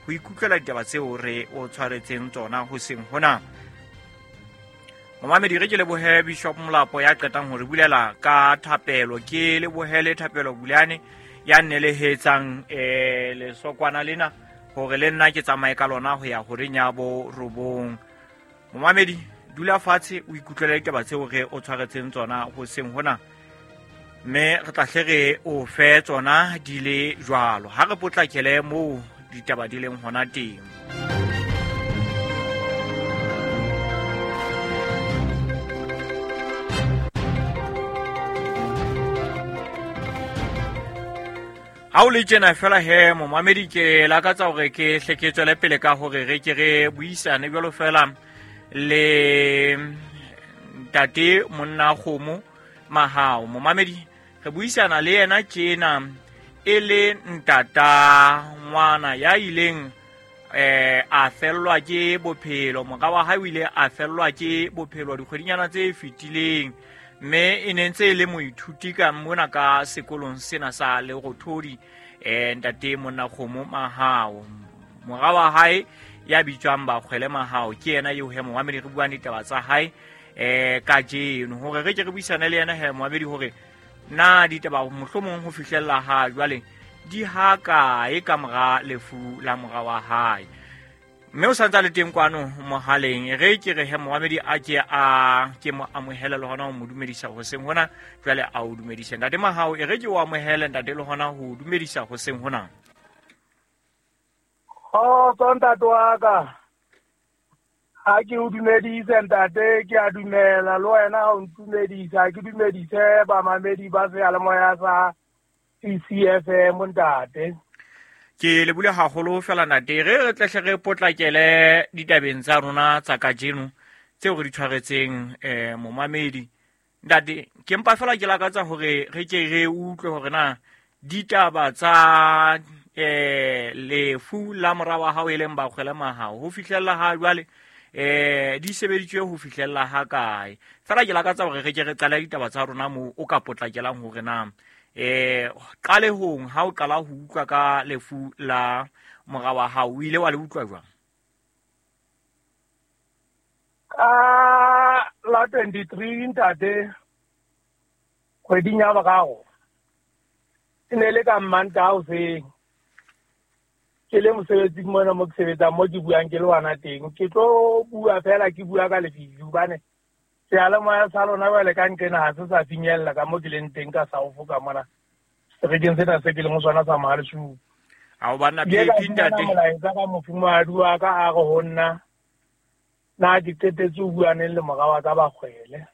ho ikutlwela ditaba tseo re o tshwaretseng tsona hoseng hona. Momamedi, re ke lebohe Bishop Molapo ya qetang ho re bulela ka thapelo. Ke lebohe le Thapelo Bulane ya nnelehetsang lesokwana lena hore le nna ke tsamaye ka lona ho ya horeng ya bo 9. Momamedi, dula fatshe o ikutlwele ditaba tseo re o tshwaretseng tsona hoseng hona, mme re tla hle re o fe tsona di le jwalo. Ha re potlakele moo ditaba di leng hona teng. Ha o le tjena fela he, momamedi, ke lakatsa hore ke hle ke tswele pele ka hore re ke re buisane jwalo fela le ntate monna kgomo Mahao. Momamedi, re buisana le yena tjena e le ntata ngwana ya ileng a fellwa ke bophelo. Mora wa hae o ile a fellwa ke bophelo dikgwedinyana tse fetileng, mme e ne ntse e le moithuti ka mona ka sekolong sena sa Lerothodi. Ntate monna kgomo Mahao, mora wa hae ya bitswang Bakgwele Mahao ke yena eo he momamedi re buang ditaba tsa hae kajeno, hore re ke re buisane le yena he momamedi hore na ditaba mohlomong ho fihlella ha jwale di ha kae ka mora lefu la mora wa hae. Mme o santsa le teng kwano mohaleng. Re ke re he momamedi a ke a ke mo amohele le hona ho mo dumedisa hoseng hona. Jwale a o dumedise ntate Mahao, e re ke o amohele ntate le hona ho dumedisa hoseng hona. Kgotso ntate wa ka, ha ke o dumedise ntate, ke a dumela le wena ha o ntumedisa, ke dumedise bamamedi ba seyalemoya sa CCFM ntate. Ke lebule haholo fela ntate. Re re tlehle re potlakele ditabeng tsa rona tsa kajeno tseo re di tshwaretseng momamedi. Ntate, ke mpa fela ke lakatsa hore re ke re utlwe hore na ditaba tsa lefu la mora wa hao e leng Bakgwele Mahao ho fihlella ha jwale di sebeditswe ho fihlella ha kae. Fela ke lakatsa hore re ke re qale ditaba tsa rona moo o ka potlakelang hore na qalehong ha o qala ho utlwa ka lefu la mora wa hao o ile wa le utlwa jwang? Ka la 23 ntate, kgweding ya boraro, e ne le ka Mmantaha hoseng. Ke le mosebetsing mona mo ke sebetsang, mo ke buang ke le wana teng. Ke tlo bua fela, ke bua ka lefifi hobane seyalemoya sa lona jwale ka nqena ha se sa finyella ka mo ke leng teng ka South ka mona. Seterekeng sena se ke leng ho sona sa Mohale'shoek. Ha o banna Ke ka phephi ntate. fumana molaetsa ka mofumahadi wa ka a re ho nna, na ke qetetse ho bua neng le mora wa ka Bakgwele.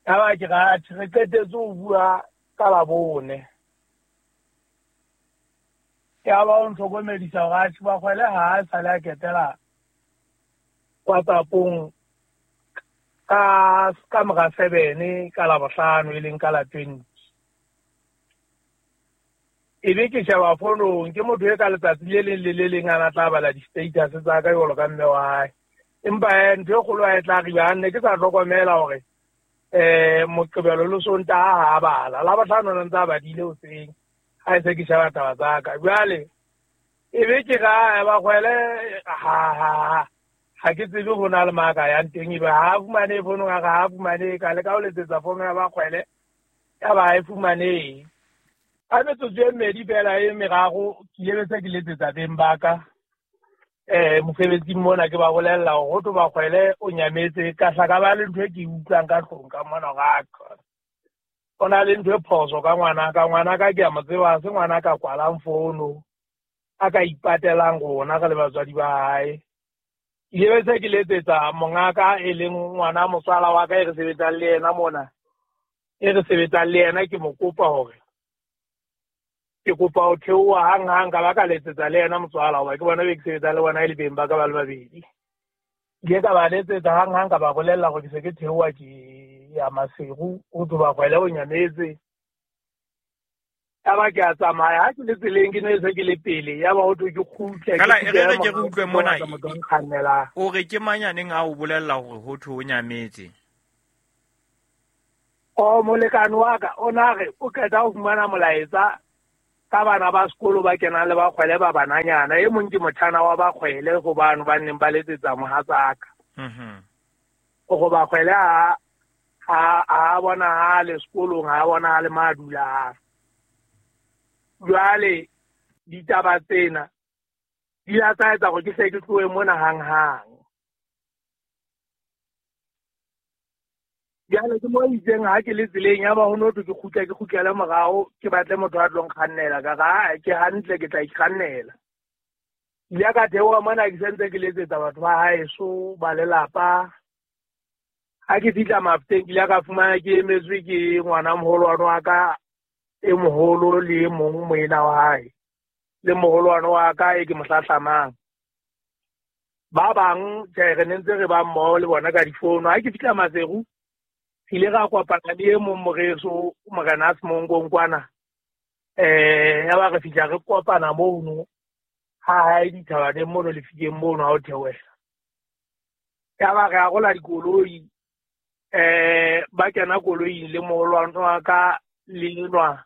Yaba ke re, atjhe, re qetetse ho bua ka Labone. Yaba o ntlhokomedisa hore atjhe, Bakgwele ha a sale a ketela WhatsApp-ong ka mora 7 ka Labohlano e leng ka la 20. Ebe ke sheba fonong, ke motho e ka letsatsi le leng le le leng a na tla bala di-status tsa ka jwalo ka mme wa hae. Empa ntho e kgolo ha e tla riba, ha nne ke sa hlokomela hore Moqebelo le Sontaha ha a bala. Labohlano o ntse a badile hoseng ha e se ke sheba taba tsa ka. Jwale ebe ke ra Bakgwele ha ke tsebe ho na le maka yang teng, ebe ha a fumane fonong, a re ha a fumane, ka leka ho letsetsa fono ya Bakgwele, ya ba ha e fumanehe. Ka metsotso e mmedi fela e meraro, ke ile se ke letsetsa beng ba ka mosebetsing mona, ke ba bolella hore ho thwe Bakgwele o nyametse. Ka hla ka ba le ntho e ke e utlwang ka hlong ka mona hore a qha. O na le ntho e phoso ka ngwanaka. Ngwanaka ke a mo tseba, ha se ngwana ka kwalang fono, a ka ipatelang rona re le batswadi ba hae. Ke ile se ke letsetsa mongaka e leng ngwana motswala wa ka e re sebetsang le yena mona, e re sebetsang le yena, ke mo kopa hore ke kopa ho theoha hang-hang, ka ba ka letsetsa le yena motswala hoba ke bona be ke sebetsang le bona e le beng ba ka ba le babedi. Ke ile ka ba letsetsa hang-hang, ka ba bolella hore ke se ke theoha ke ya Maseru, ho thwe Bakgwele o nyametse. Yaba ke a tsamaya, ha ke le tseleng ke ne se ke le pele, yaba ho thwe ke kgutle, ke Fela, e re kgutle re ke re morao, utlwe ke mona, batla motho a nkgannelang. O re ke mang ya neng a o bolella hore ho thwe o nyametse? O molekane wa ka o na re o qeta ho fumana molaetsa Ka bana ba sekolo ba kenang le Bakgwele ba bananyana, e mong ke motjhana wa Bakgwele go bano ba neng ba letsetsa mohatsaka. Go Bakgwele ha bonahale sekolong, ha bonahale mo a dulang. Jwale ditaba tsena di la tsa etsa hore ke hle ke tlohe mona hanghang. Jwale ke mo itseng ha ke le tseleng ya ba ho no thwe ke kgutle, ke kgutlele morao, ke batle motho a tlo nkgannela. Ka re, "Ae, ke hantle, ke tla ikgannela." Ke ile ka theoha mona ke sentse ke letsetsa batho ba haeso, ba lelapa. Ha ke fihla Mafeteng, ke ile ka fumana ke emetswe ke ngwana moholwane wa ka e moholo le e mong moena wa hae, le moholwane wa ka e ke mo hlahlamang. Ba bang tjhe, re ne ntse re ba mmoho le bona ka difono. Ha ke fihla Maseru, re ile ra kopana le e mong moreso, Morena Semonkong kwana. Ya ba re fihla re kopana mono ha hae dithabaneng mono lefikeng mono ha o theohela. Ya ba re arola dikoloi, ba kena koloing le moholwane wa ka le enwa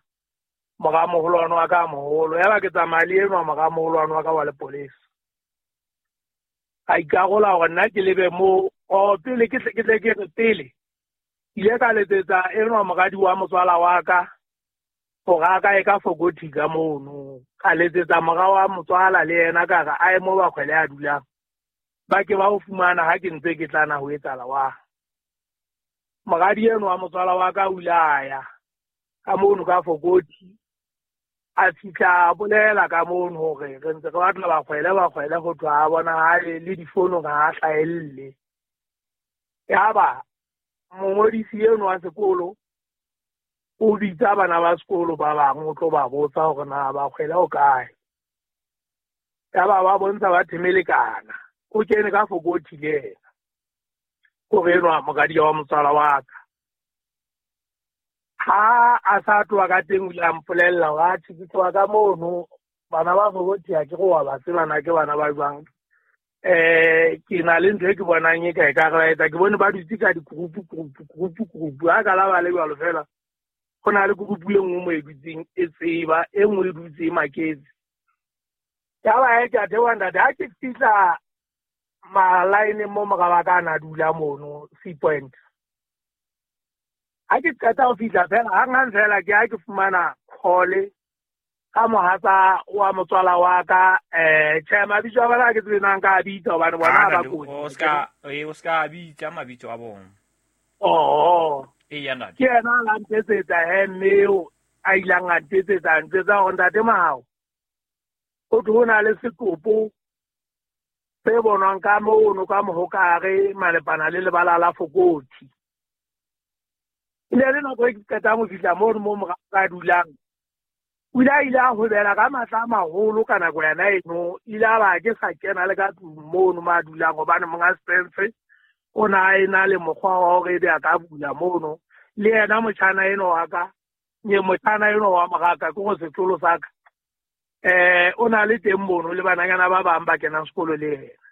mora moholwane wa ka moholo. Ya ba ke tsamaya le enwa mora moholwane wa ka wa lepolesa. Ka ikarola hore nna ke lebe moo, pele ke tle ke re pele ile ka letsetsa enwa moradi wa motswala wa ka hore a ka e ka Fokothi ka mono. Ka letsetsa mora wa motswala le yena ka re a ye mo Bakgwele a dulang, ba ke ba ho fumana ha ke ntse ke tlana ho etsahala wa. Moradi enwa wa motswala wa ka o ile a ya ka mono ka Fokothi, a fihla a bolela ka mono hore re ntse re batla Bakgwele, Bakgwele ho thwe ha bonahale le difonong ha a hlahelle. Yaba mongodisi enwa wa sekolo o bitsa bana ba sekolo ba bang o tlo ba botsa hore na Bakgwele o kae. Yaba ba bontsha ba themelekana, o kene ka Fokothi le yena, hore enwa moradi wa motswala wa ka. Ha a sa tloha ka teng o ile a mpolella hore atjhe ke tloha ka mono, bana ba Fokothi ha ke re wa ba tseba na ke bana ba jwang. Ke na le ntho e ke bonang e ka e ka re ba etsa, ke bone ba dutse ka di-group, group, group, group. Ha ka la ba le jwalo fela, ho na le group e nngwe mo e dutseng e tseba, e nngwe e dutse e maketse. Ya ba he ke a theoha ntate, ha ke fihla malaeneng mo mora wa ka a na dula mono Sea Point. Ha ke qeta ho fihla fela, hanghang fela ke ha ke fumana call ka mohatsa wa motswala wa ka. Tjhe, mabitso a bona ha ke tsebe na nka a bitsa hobane bona ha ba kotsi. O ska bitsa mabitso a bona. Oh. Eya ntate. Ke yena a la ntetsetsa he, mme eo a ilang a ntetsetsa, a ntsetsa hore ntate Mahao, ho thwe ho na le setopo se bonwang ka mono ka mohokare malepana le lebala la Fokothi. E ne le nako e ke qetang ho fihla mono mo mora ka dulang. O ile a ile a hobela ka matla a maholo ka nako yona eno, ile a ba ke sa kena le ka tlung mono mo a dulang hobane monga Spencer o na a ena le mokgwa wa hore ebe a ka bula mono. Le yena motjhana enwa wa ka, nye motjhana enwa wa moraka, ke go setlolo sa ka. O na le teng mono le bananyana ba bang ba kenang sekolo le yena.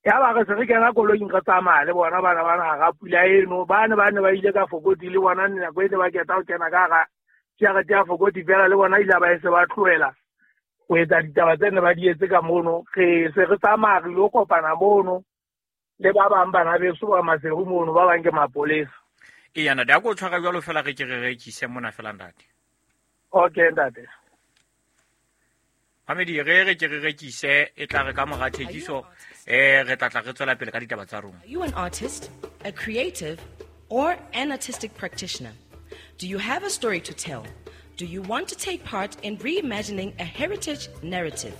Ya ba re se re kena koloing re tsamaya le bona bana bana hara pula eno, ba ne ba ile ka Fokothi le bona nako e ne ba keta ho kena ka hara jarete ya Fokothi fela, le bona ile ba e se ba tlohela ho etsa ditaba tse ne ba di etse ka mono. Re se re tsamaya re ilo kopana mono le ba bang bana beso ba Maseru mono, ba bang ke mapolesa. Eya ntate, a ko tshwara jwalo fela re ke re rekise mona fela ntate. Okay ntate. Mamedi, re ke re rekise, e tla re ka mora thekiso, re tla tla re tswela pele ka ditaba tsa rona. Are you an artist, a creative, or an artistic practitioner? Do you have a story to tell? Do you want to take part in reimagining a heritage narrative?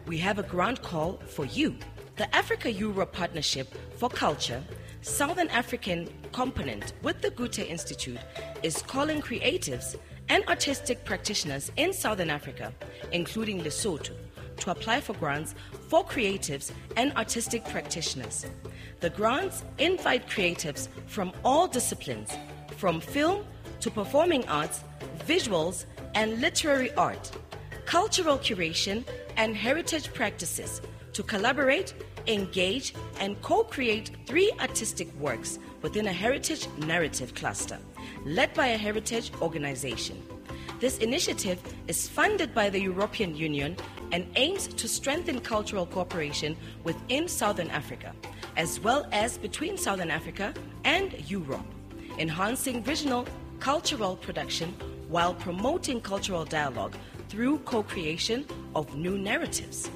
We have a grant call for you. The Africa-Europe Partnership for Culture, Southern African component with the Goethe Institute, is calling creatives and artistic practitioners in Southern Africa, including Lesotho, to apply for grants for creatives and artistic practitioners. The grants invite creatives from all disciplines, from film to performing arts, visuals and literary art, cultural curation and heritage practices, to collaborate, engage and co-create 3 artistic works within a heritage narrative cluster, led by a heritage organization. This initiative is funded by the European Union and aims to strengthen cultural cooperation within Southern Africa, as well as between Southern Africa and Europe, enhancing regional cultural production while promoting cultural dialogue through co creation of new narratives.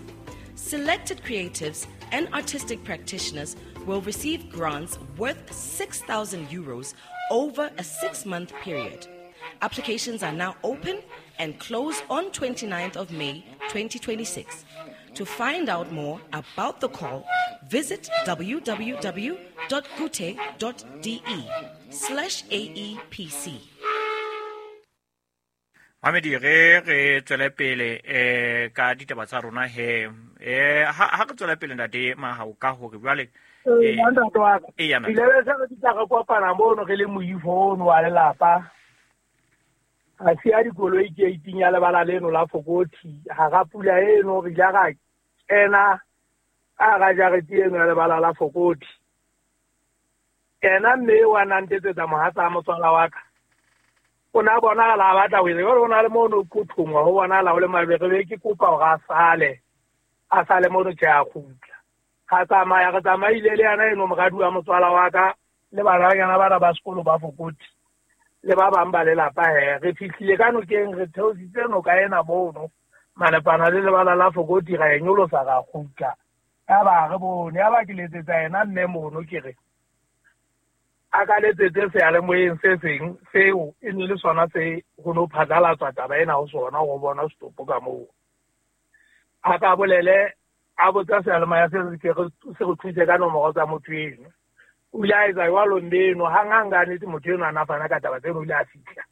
Selected creatives and artistic practitioners will receive grants worth 6,000 euros over a 6-month period. Applications are now open and close on 29th of May 2026. To find out more about the call, visit www.gute.de/aepc. Mamedi, re re tswele pele ka ditaba tsa rona he. Ha re tswele pele, ntate Mahao, ka hore jwale Ntate wa ka, ile be se re tla re kopana mono re le moifo ono wa lelapa. A siya dikoloi gate ya lebala leno la Fokothi. Hara pula eno re ile ra kena ka hara jarete eno ya lebala la Fokothi. Ena mme wa na ntetsetsa mohatsa motswala wa ka. O na bonahala a batla ho etsa jwale, o na le mono qothongwa, ho bonahala ho le mabere, be ke kopa hore a sale mono. Tjhe, a kgutla. Ra tsamaya, re tsamaile le yena eno moradi wa motswala wa ka le bananyana bana ba sekolo ba Fokothi le ba bang ba lelapa. He, re fihlile ka nokeng, re theositse noka ena mono malepana le lebala la Fokothi, ra e nyolosa, ra kgutla. Ya ba re bone, ya ba ke letsetsa yena mme mono, ke re a ka letsetse seyalemoyeng se seng seo e ne le sona se ho no phatlalatswa taba ena ho sona go bona setopo ka moo. A ka bolele, a botsa seyalemoya se se ke se re thuse ka nomoro tsa motho eno. O ile a etsa jwalo mme eno hanghang. Ka nnete, motho eno a na fana ka taba tseno. O ile a fihla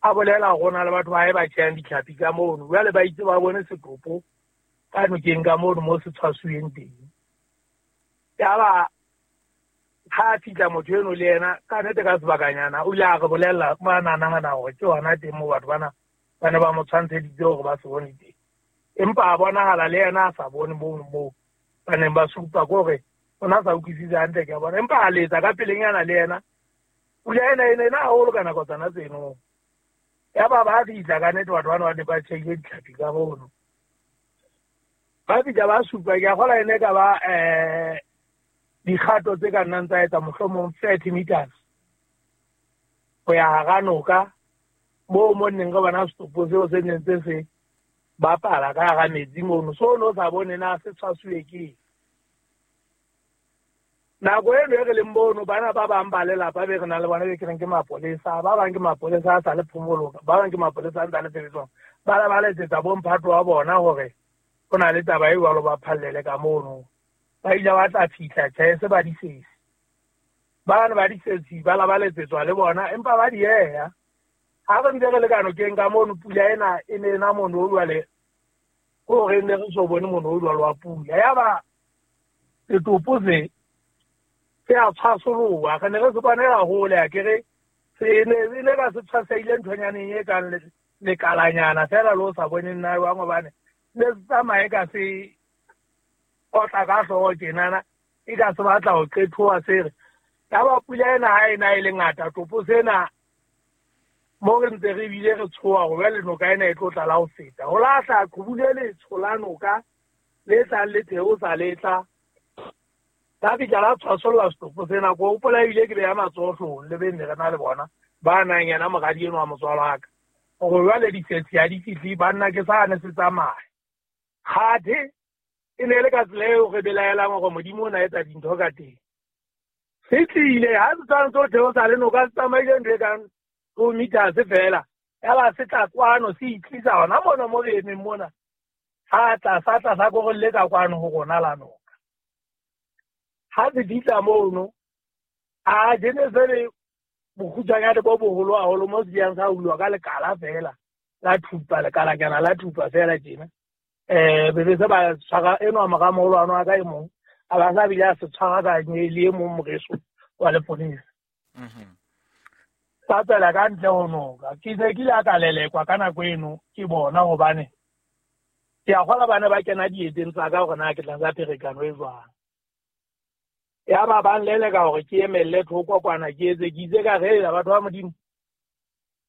a bolela hore ho na le batho ba hae ba tjhehang ditlhapi ka mono, jwale ba itse ba bone setopo ka nokeng ka mono mo se tshwasuweng teng. Yaba ha a fihla motho eno le yena, ka nnete, ka sebakanyana o ile a re bolella mo a na nahana hore ke hona teng moo batho bana ba ne ba mo tshwantsheditse hore ba se bone teng, empa a bonahala le yena a sa bone mono moo ba neng ba supa, ke hore o na sa utlwisise hantle, ke a bona. Empa a letsa ka pelenyana le yena. Pula ena e ne ena haholo ka nako tsona tseno. Ya ba ba fihla, ka nnete, batho bana ba ne ba tjheile ditlhapi ka mono. Ba fihla ba supa, ke a kgola ene ka ba dikgato tse ka nnang tsa etsa mohlomong 30 meters ho ya hara noka moo mo nneng re bona setopo seo se neng se se bapala ka hara metsi mono. So no sa bone na se tshwasuwe ke nako eno e re leng mono. Bana ba bang ba lelapa be re nang le bona, be ke reng ke mapolesa, ba bang ke mapolesa a sa le phomolong, ba bang ke mapolesa a ntse a le tshebetsong, ba la ba letsetsa bomphato wa bona hore ho na le taba e jwalo, ba phallele ka mono. Ba ile ba tla fihla, tjhe, se ba disesi bane ba disesi ba la ba letsetswa le bona, empa ba dieha. Ha re ntse re le ka nokeng ka mono, pula ena e ne ena mono o jwale, ko re ne re so bone mono o jwalo wa pula. Yaba setopo se se a tshwasoloha, re ne re se bonela hole. Akere se ne e ne ka se tshwaseile nthonyaneng e kang lekalanyana fela le o sa boneng na jwang, hobane ne se tsamaye ka se otla ka hlooho tjenana, e ka se batla ho qethoha se re. Yaba pula ena ha ena e le ngata, topo sena mo re ntse re bile re tshoha hore jwale noka ena e tlo tlala ho feta, ho lahla qhubu le letsho la noka le tlang le theosa le tla la fihla la tshwasolla setopo sena. Ko hopola ebile ke beya matsoho hloohong le be ne re na le bona ba nang yena moradi eno wa motswalo wa ka, hore jwale disetsi ha di fihle banna ke sane se tsamaya. Kgathe e ne e le ka tsela eo re belaelang hore Modimo o na etsa dintho ka teng. Se tlile ha se tshwanetse ho theosa le noka, se tsamaile ntho e kang 2 meters fela, yaba se tla kwano, se itlisa hona mona mo re emeng mona. Ha tla sa tla sa korolletsa kwano ho rona la noka. Ha se fihla mono, a jene se le bokgutshwanyane bo boholo haholo mo se yang sa hulwa ka lekala fela la thupa, lekalanyana la thupa fela tjena. Be be se ba tshwara enwa mora moholwane wa ka e mong, a ba sa bile a se tshwara ka le e mong moreso wa leponesa. Sa tswela ka ntle ho noka. Ke se ke ile ka lelekwa ka nako eno ke bona, hobane ke a kgola bana ba kena dieteng tsa ka hore na ke tla tsa pherekano e jwang. Ya ba ba nleleka hore ke emelle thoko kwana, ke etse ke itse ka re batho ba Modimo.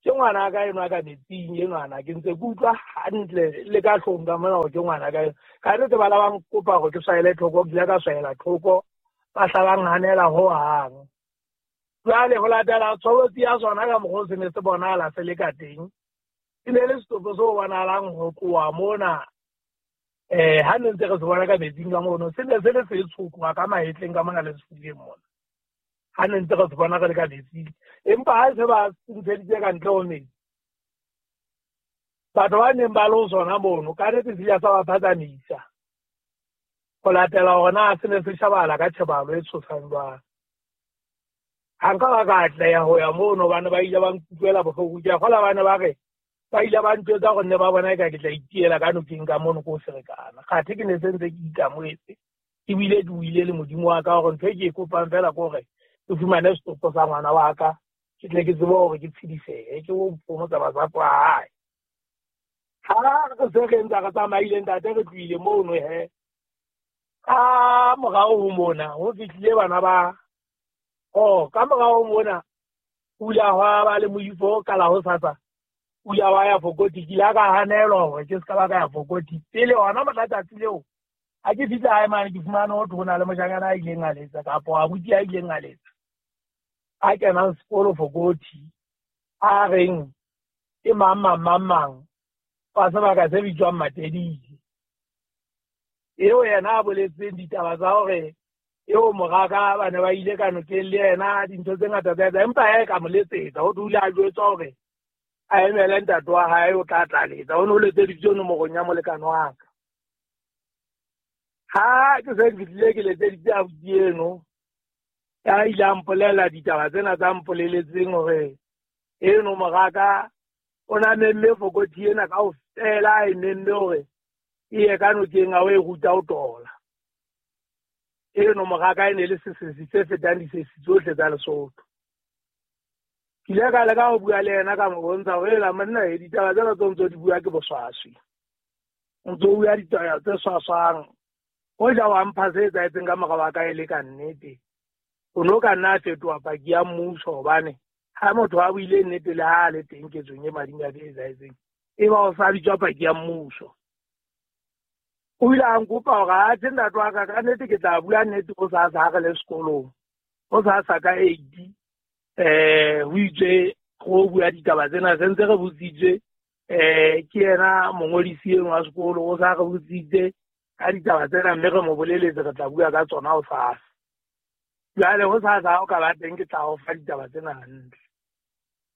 Ke ngwana ka enwa ka metsing enwana, ke ntse ke utlwa hantle le ka hlong ka mona hore ke ngwana ka enwa. Ka nnete ba la ba nkopa hore ke swaele thoko, ke ile ka swaela thoko, ba hla ba nhanela hohang. Jwale ho latela tshobotsi ya sona ka mokgwa o se ne se bonahala se le ka teng, e ne le setopo se bonahalang ho tloha mona. Ha ne ntse re se bona ka metsing ka mono, se ne se le setsho tloha ka mahetleng ka mona le sefubeng mona. Ha ne ntse re se bona re le ka metsing, empa ha se ba ntsheditse ka ntle ho metsi, batho ba neng ba le ho sona mono, ka nnete se ile sa ba phatsamisa ho latela hore na se ne se shebahala ka tjhebahalo e tshosang jwang. Ha nka ba ka atleha ho ya mono, hobane ba ile ba nkutlwela bohloko. Ke a kgolwa ba ne ba re ba ile ba ntjwetsa hore nne ba bona eka ke tla itiela ka nokeng ka mono ko ferekana. Kgathe ke ne se ntse ke ikamohetse, ebile ke buile le Modimo wa ka hore ntho e ke e kopang feela ke hore ke fumane setopo sa ngwana wa ka, ke tle ke tsebe hore ke tshedisehe, ke ho phomotsa masapo a hae. Ha re se re ntse re tsamaile ntate, re tlohile mono he. Ka morao ho mona ho fihlile bana ba, oh, ka morao ho mona o ile hwa ba le moifo ka la hosasa, o ile wa ya Fokoti. Ke ile ka hanelwa hore ke se ka ba ka ya Fokoti pele hona mohla tsatsi leo. Ha ke fihla hae mane, ke fumane ho thwe ho na le moshanyana a ileng a letsa, kapo abuti a ileng a letsa, a kenang sekolo Fokoti, a reng ke mang mang mang mang wa sebaka se bitswang Matedile, eo yena a boletseng ditaba tsa hore eo moraka ba ne ba ile ka nokeng le yena, dintho tse ngata tsa etsa, empa ha e ka mo letsetsa ho dula a jwetswa hore a emele ntate wa hae o tla tla letsa. O ne o letseditswe nomorong ya molekane wa ka. Ha ke se ke fihlile ke letseditse abuti eno, ya ile a mpolella ditaba tsena tsa mpoleletseng hore eno moraka o na memme Fokoti ena kaofela, a e memme hore e ye ka nokeng a o e ruta ho tola. Eno moraka e ne le sesesi se fetang disesi tsohle tsa Lesotho. Ke ile ka leka ho bua le yena, ka mo bontsha hore ela monna, e ditaba tsena tse ntso di bua ke boswaswi, o ntso bua ditaba tse swaswang. Hoja wa mpha se etsahetseng ka mora wa ka e le ka nnete, o no ka nna a fetoha paki ya mmuso, hobane ha motho a buile nnete le ha a le teng ketsong e madimabe e etsahetseng, e ba o sa bitswa paki ya mmuso. O ile a nkopa hore atjhe ntate wa ka, ka nnete ke tla bua nnete hosasa ha re le sekolong, hosasa ka 8, ho itswe ho bua ditaba tsena, se ntse re botsitswe, ke yena mongodisi eno wa sekolo, o sa re botsitse ka ditaba tsena, mme re mo boleletse re tla bua ka tsona hosasa. Jwale hosasa ha o ka ba teng, ke tla o fa ditaba tsena hantle.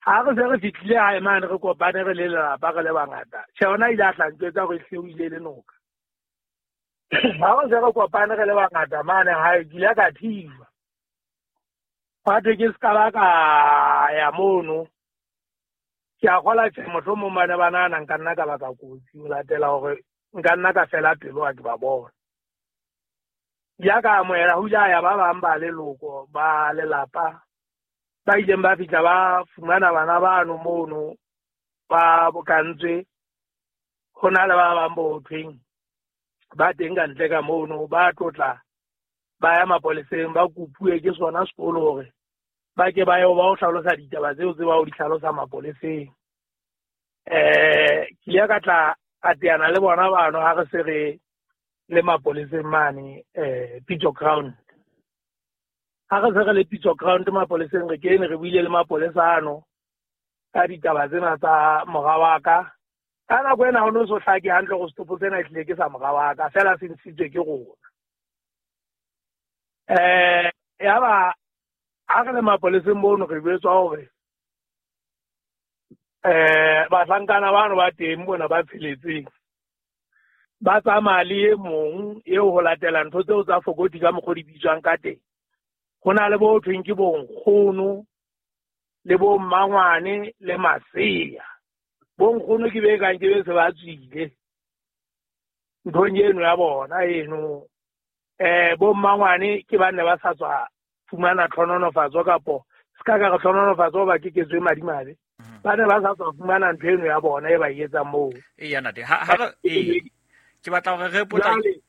Ha re se re fihlile hae mane, re kopane re le lelapa re le bangata, tjhe, ona ile a tla ntjwetsa hore ehlile o ile le noka. Ha re se re kopane re le bangata mane hae, ke ile ka thijwa. Hwa thwe ke se ka ba ka ya mono. Ke a kgolwa tjhe, mohlomong ba ne ba nahana nka nna ka baka kotsi, ho latela hore nka nna ka fela pelo ha ke ba bona. Ya ka amohela, ho ile ha ya ba bang ba leloko, ba lelapa, ba ileng ba fihla ba fumana bana bano mono ba bokantswe. Ho na le ba bang bo thweng ba teng ka ntle ka mono, ba tlotla ba ya mapoleseng, ba kopuwe ke sona sekolo hore ba ke ba yo ba o hlalosa ditaba tseo tse ba o di hlalosa mapoleseng. Ke ile ka tla ka teana le bona bano ha re se re le mapoleseng mane, Pitso Ground. Ha re se re le Pitso Ground mapoleseng, re kene re buile le mapolesa ano ka ditaba tsena tsa mora wa ka. Ka nako ena ho no so hlake hantle hore setopo sena ehlile ke sa mora wa ka, feela se ntshitswe ke rona. Yaba ha re le mapoleseng mono re jwetswa hore bahlankana bano ba teng bona ba tsheletseng ba tsamaya le e mong eo ho latela ntho tseo tsa Fokoti ka mokgwa o di bitswang ka teng. Ho na le bo thweng ke bonkgono le bo mmangwane le masea. Bonkgono ke be kang ke be se ba tswile nthong eno ya bona eno. Bo mmangwane ke ba ne ba sa tswa fumana tlhononofatso, kapo se ka ka re tlhononofatso hoba ke ketso e madimabe. Ba ne ba sa tswa fumana ntho eno ya bona e ba e etsang moo. Eya, ntate. Ha re, ee. Ke batla hore re potlake.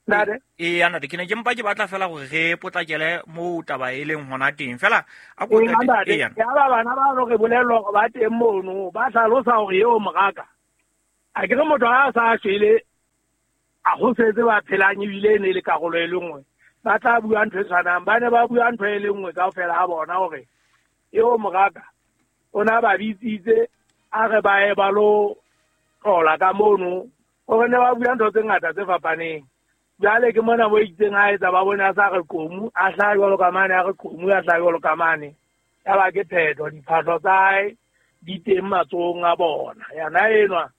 Ntate? Eya ntate, ke ne ke mpa ke batla fela gore re potlakele moo taba e leng hona teng fela. A ko ntate, ya ba bana ba no re bolellwa hore ba teng mono, ba hlalosa hore eo moraka a ke re motho ha a sa shwele, a go setse ba phelang ebile e ne e le karolo e le nngwe, ba tla bua ntho e tshwanang. Ba ne ba bua ntho e le nngwe kaofela ha bona hore eo moraka o na ba bitsitse a re ba ye ba lo tlola ka mono, gore ne ba bua ntho tse ngata tse fapaneng. Jwale ke mona mo itseng a etsa ba bone a sa re qomu a hlaha jwalo ka mane, a re qomu a hlaha jwalo ka mane, ya ba ke phetho. Diphahlo tsa hae di teng matsohong a bona. Yena enwa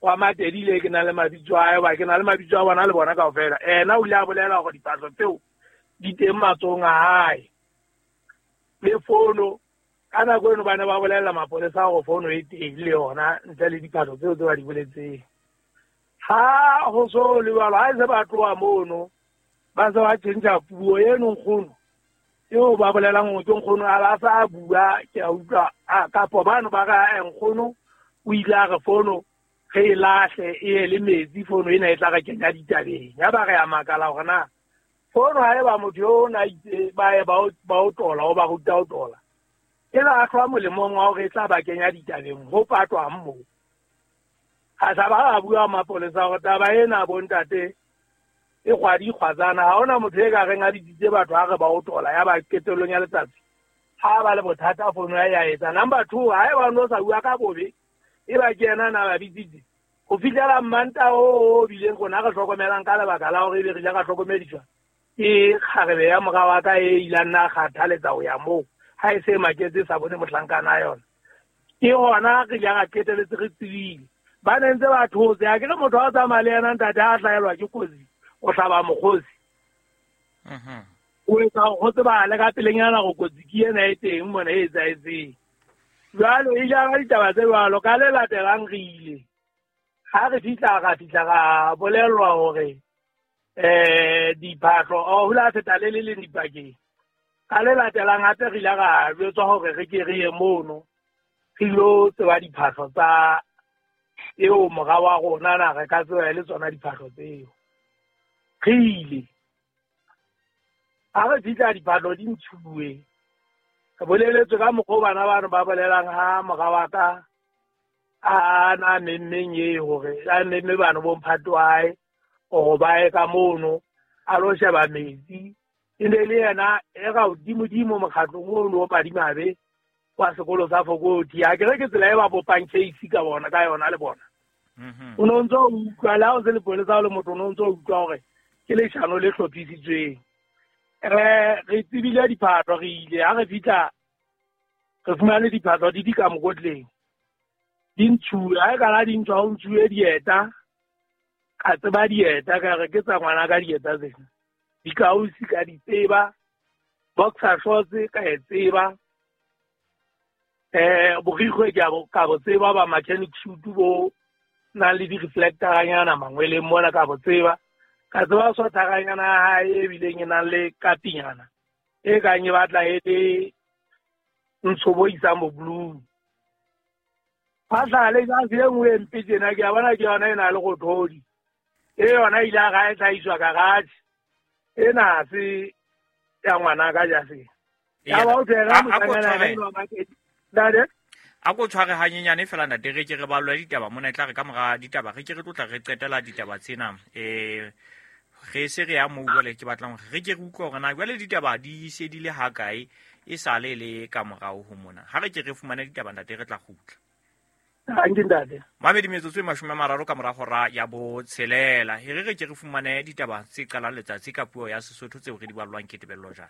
wa Matedile ke na le mabitso a hae, ba ke na le mabitso a bona le bona kaofela. Ena o ile a bolela hore diphahlo tseo di teng matsohong a hae le fono. Ka nako eno ba ne ba bolella mapolesa hore fono e teng le yona ntle le diphahlo tseo tse ba di boletseng. Ha ho so le jwalo, ha e se ba tloha mono ba se ba tjhentjha puo eno nkgono eo ba bolelang hore ke nkgono a ba sa bua. Ke a utlwa kapo bano ba re nkgono o ile a re fono re e lahle e ye le metsi, fono ena e tla re kenya ditabeng. Ya ba re a makala hore na fono ha eba motho eo na itse ba ye ba o tola, o ba ruta o tola, e lahlwa molemong wa hore e tla ba kenya ditabeng ho patwang moo. Ha sa ba bua mapolesa hore taba ena bontate e kgwadi kgwatsana, ha hona motho e ka reng a bitsitse batho ha re ba o tola. Ya ba qetellong ya letsatsi ha ba le bothata fono ya etsa. Number 2, ha eba no sa bua ka bobe e ba ke yena na ba bitsitse ho fihlela Mmanta o bileng rona re hlokomelang ka lebaka la hore ebe re ile ra hlokomediswa ke kgarebe ya mora wa ka e ilang nna kgathaletsa ho ya moo ha e se maketse sa bone mohlankana yona. Ke hona re ile ra qeteletse re tsebile ba ne ntse ba thotse. A ke re motho wa tsamaya le yena ntate ha hlahelwa ke kotsi o hlaba mokgosi, o etsa ho tsebale ka pelenyana go kotsi ke ena e teng mona e etsahetseng. Jwale e jara ditaba tse jwalo. Ka le latelang re ile ha re fihla ra fihla ra bolellwa hore diphahlo ho la feta le le leng dipakeng. Ka le latelang hape re ile ra jwetswa hore re ke re ye mono re ilo tseba diphahlo tsa eo mora wa rona na re ka tseba le tsona diphahlo tseo. Re ile ha re fihla diphahlo di ntshuwe, re boleletswe ka mokgwa bana bano ba bolelang ha mora wa ka a na memmeng e hore a memme bano bo mphato wa hae hore ba ye ka mono a lo sheba metsi. E ne le yena e ka hodimodimo mokgatlong ono o madimabe wa sekolo sa Fokoti. A ke re ke tsela e ba bopang case ka bona ka yona le bona. O no ntso utlwa le ha o se lepolesa o le motho, o no ntso utlwa hore ke leshano le hlophisitsweng. Re tsebile diphahlo, re ile ha re fihla re fumane diphahlo di di ka mokotleng di ntshuwe. Ha e kana di ntshwa ho ntshuwe dieta, ka tseba dieta ka re ke tsa ngwana ka dieta tsena, dikausi ka di tseba, boxer shorts ka e tseba, borikgwe ka bo tseba, ba mechanic suit bo nang le di-reflectoranyana mangweleng mona ka bo tseba, ka tseba swathakanyana ya hae e bileng e nang le kapinyana e kang e batla e le ntsho bo isang bo blue. Fa le jase e nngwe e mpe tjena ke a bona ke yona e na le rothodi, e yona ile a ga e hlahiswa garage ena ha se ya ngwana ka jase. Ya ba o tshwere mohlangana eno wa Makedi. Ntate? A ko tshware hanyenyane fela ntate, re ke re ballwe ditaba mona, e tla re ka mora ditaba re ke re tlotla re qetela ditaba tsena. Re se re ya moo jwale ke batlang hore re ke re utlwe hore na jwale ditaba di se di le ha kae e sale le ka morao ho mona. Ha re ke re fumane ditaba ntate re tla kgutla. Hanke ntate. Mamedi metsotso e 30 ka mora hora ya 6. E re re ke re fumane ditaba tse qalang letsatsi ka puo ya Sesotho tseo re di ballwang ke Tebello Jane.